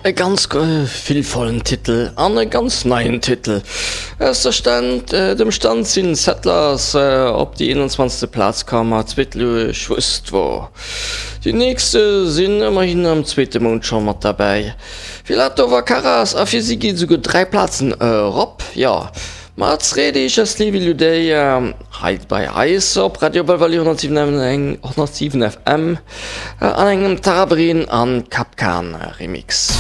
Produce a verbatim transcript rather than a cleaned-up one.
E ganz gefillvollen Titel an e ganz neien Titel. Aus der Stand, dem Stand sinn Settlers op déi eenanzwanzegste Plaz komm a zweet Luech wusst wor. Déi nächste sinn ëmmerhin am zweete Mount scho mat derbäi. Filatov a Karas a fir si geet esouguer dräi Plazen erop. Jo, mat Sredi Schastliwi Ludej hei bei eis op Radio Belval honnertsiwen F M an engem Tarabrin an Kapkan Remix.